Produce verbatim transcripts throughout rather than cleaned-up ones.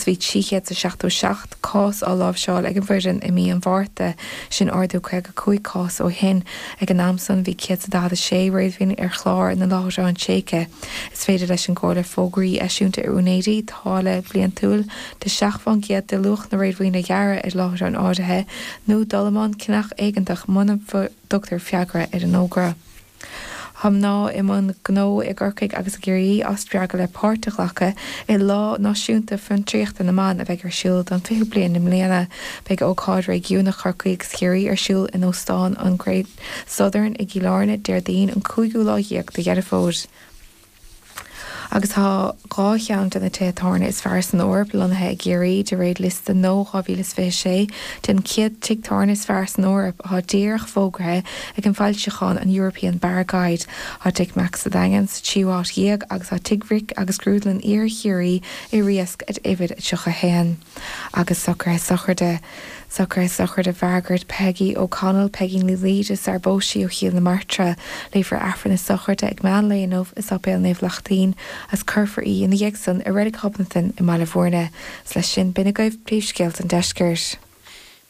agus bhí trí chéad is seachtó seacht cás á láimhseáil ag an bhfoireann i mí an Mhárta, sin ardú caoga cúig cás ó shin. Ag an am san bhí céad is daichead a sé réadmhaoin ar chlár na láithreán tréigthe. Is féidir leis an gComhairle fógraí a eisiúint ar úinéirí, táille bhliantúil de seacht fán gcéad de luach na réadmhaoine a ghearradh ar láithreáin áirithe, nó dul i mbun ceannach éigeantach muna dtugtar freagra ar an fhógra. Tá mná i mbun gnó i gCorcaigh agus i gCiarraí á spreagadh le páirt a ghlacadh i Lá Náisiúnta Fiontraíochta na mBan a bheidh ar siúl don fichiú bliain i mbliana. Beidh ócáid réigiúnach Chorcaí agus Chiarraí ar siúl in Óstán an Great Southern i gCill Airne Déardaoin an cúigiú lá dhéag de Dheireadh Fómhair. Agus tá dhá cheann de na tithe tábhairne is fearr san Eoraip lonnaithe i gCiarraí, de réir liosta Know dhá mhíle is fiche sé den chéad tigh tábhairne is fearr san Eoraip, atá díreach fógraithe ag an bhfoilseachán an European Bar Guide. Tá Tigh Mac sa Daingean sa tríú háit dhéag agus tá Tigh Mhic agus Grúdlann Iarthar Chiarraí i Riasc at uimhir a tríocha haon. Agus socruithe sochraide. Socruithe sochraide Mhargaret Peggy O'Connell, Peigín Ní Laoide sar bpós sí ó Chill na Martra. Léifear Aifreann na sochraide ag meán lae inniu i Sáipéal Naomh Lachtaín agus cuirfear í ina dhiaidh san i Reilig Ghobnatan i mBaile Bhúirne. Is leis sin b'in agaibh príomhscéalta an deiscirt.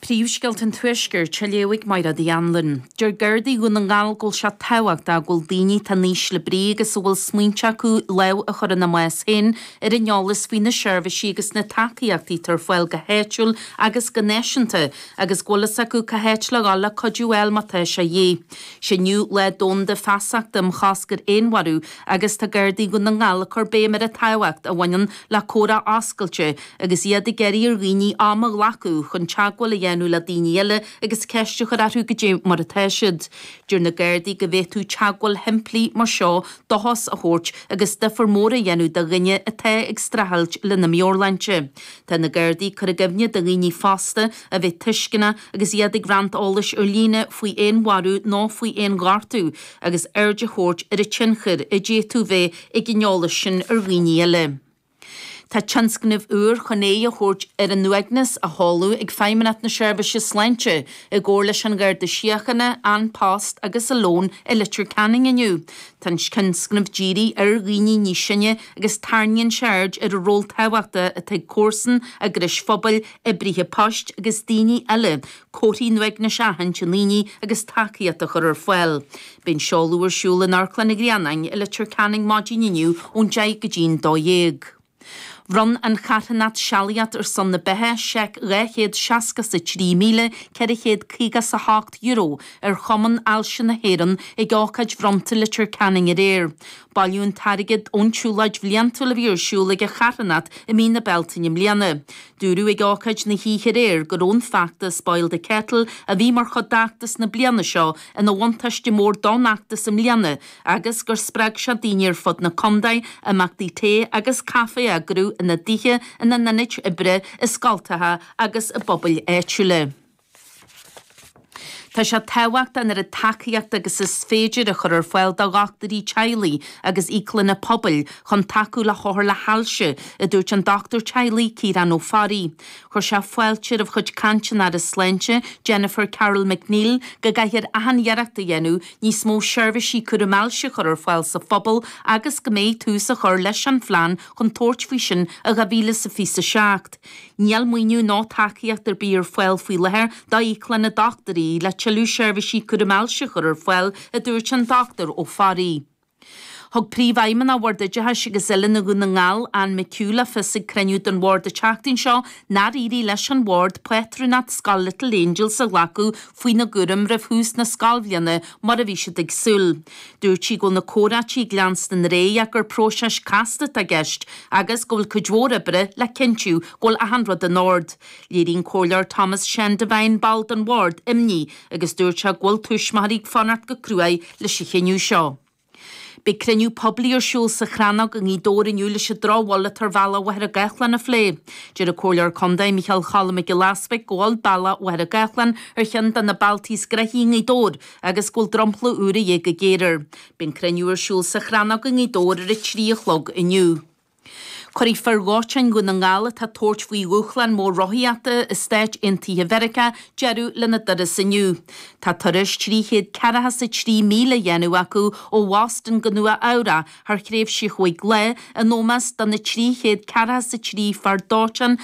Príomhscéalta an Tuaiscirt á léamh ag Máire Uí Anluain. Deir Gardaí Dhún na nGall go bhfuil sé tábhachtach go bhfuil daoine atá in ísle brí agus a bhfuil smaointe acu lámh a chur ina mbás féin ar an eolas faoi na seirbhísí agus na tacaíochtaí atá ar fáil go háitiúil agus go náisiúnta agus go bhfuil fhios acu cá háit le dhul le cuidiú a fháil má tá sé a dhíth. Sé inniu Lá Domhanda Feasachta um Chosc ar Fhéinmharú agus tá Gardaí Dhún na nGall ag cur béim ar an tábhacht a bhaineann le comhrá oscailte agus iad ag iarraidh ar dhaoine am a ghlacadh chun teagmháil a dhéanamh le daoine eile agus ceist a chur orthu goidé mar atá siad. Deir na Gardaí go bhféadfadh teagmháil shimplí mar seo dóchas a thabhairt agus difear mór a dhéanamh do dhuine atá ag streachailt lena meabhairshláinte. Tá na Gardaí ag cur i gcuimhne do dhaoine fosta a bheith tuisceanach agus iad ag roinnt eolais ar líne faoi fhéinmharú nó faoi fhéinghortú agus aird a thabhairt ar an tionchar a d'fhéadfadh bheith ag an eolas sin ar dhaoine eile. Tá tionscnamh úr chun aghaidh a thabhairt ar an uaigneas á sheoladh ag Feidhmeannacht na Seirbhíse Sláinte i gcomhar leis an Gharda Síochána, An Post agus Alone i Leitir Ceanainn inniu. Tá an tionscnamh dírithe ar dhaoine níos sine agus tarraingíonn sé aird ar an ról tábhachtach atá ag comharsan, eagrais phobail, oibrithe poist agus daoine eile comharthaí an uaignis a aithint i ndaoine agus tacaíocht a chur ar fáil. Beidh an seoladh ar siúl in Amharclann an Ghrianáin i Leitir Ceanainn maidin inniu ón deich go dtí'n dó dhéag. Bhronn an charthanacht Sealaíocht ar son na Beatha seic dhá chéad seasca is a trí míle ceithre chéad caoga is a hocht euro ar Chumann Ailse na hÉireann ag ócáid bhronnta Leitir Ceanainn aréir. Bailíodh an t-airgead ón tsiúlóid bhliantúil a bhí ar siúl ag an charthanacht i mí na Bealtaine i mbliana. Dúradh ag ócáid na hoíche aréir go raibh an feachtas Boil the Kettle a bhí mar chuid d'fheachtas na bliana seo ina bhuntáiste mór don fheachtas i mbliana agus gur spreag sé daoine ar fud na contae imeachtaí tae agus caife a eagrú ina dtithe, ina n-ionaid oibre, i scoltacha agus i bpobail áitiúla. Tá sé tábhachtach an oiread tacaíochta agus is féidir a chur ar fáil do dhochtúirí teaghlaigh agus íoclanna pobail chun tacú le hothair le hailse, a dúirt an dochtúir teaghlaigh Ciarán Ó Fearraigh. Chuir sé fáilte roimh chuid cainte an Aire Sláinte, Jennifer Carroll MacNeill, go gcaithfear achan iarracht a dhéanamh níos mó seirbhísí cúraim ailse a chur ar fáil sa phobal agus go mbeidh tús á chur leis an phlean chun tabhairt faoi sin i dhá mhíle is a fiche a seacht. Níl maoiniú ná tacaíocht ar bith ar fáil faoi láthair d'íoclanna dochtúirí le tuilleadh seirbhísí cúraim ailse a chur ar fáil, a dúirt an Dochtúir Ó Fearraigh. Thug Príomhfheidhmeannach Bhord Oideachais agus Oiliúna Dhún na nGall, Anne McHugh, le fios ag cruinniú den Bhord an tseachtain seo nár éirigh leis an Bhord pátrúnacht Scoil Little Angels a ghlacadh faoina gcúram roimh thús na scoilbhliana mar a bhí siad ag súil. Dúirt sí go bhfuil na comhráití ag leanstan ar aghaidh ach gur próiseas casta atá i gceist agus go bhfuil cuid mhór oibre le cinntiú go bhfuil achan rud in ord. Léirigh an Comhairleoir Thomas Sean Devine, ball den Bhord, imní agus dúirt sé go bhfuil tuismitheoirí ag fanacht go cruaidh leis an chinneadh seo. Beidh cruinniú poiblí ar siúl sa Chrannóg i nGaoth Dobhair inniu leis an drochbhail atá ar bhealach Mhachaire Gathlán a phlé. Deir an Comhairleoir Contae Micheál Cholm Mac Giolla Easbuig go bhfuil bealach Mhachaire Gathlán ar cheann de na bealtaí is gnoithí i nGaoth Dobhair agus go bhfuil dromchla úr a dhíth go géar air. Beidh an cruinniú ar siúl sa Chrannóg i nGaoth Dobhair ar a trí a chlog inniu. Cuirfidh fir dhóiteáin Dhún na nGall atá ag tabhairt faoi dhúshlán mór rothaíochta i Stáit Aontaithe Mheiriceá deireadh lena dturas inniu. Tá turas trí chéad ceathracha is a trí míle á dhéanamh acu ó Bhoston go Nua Eabhrac thar thréimhse chúig lá in ómós do na trí chéad ceathracha is a trí fear dóiteáin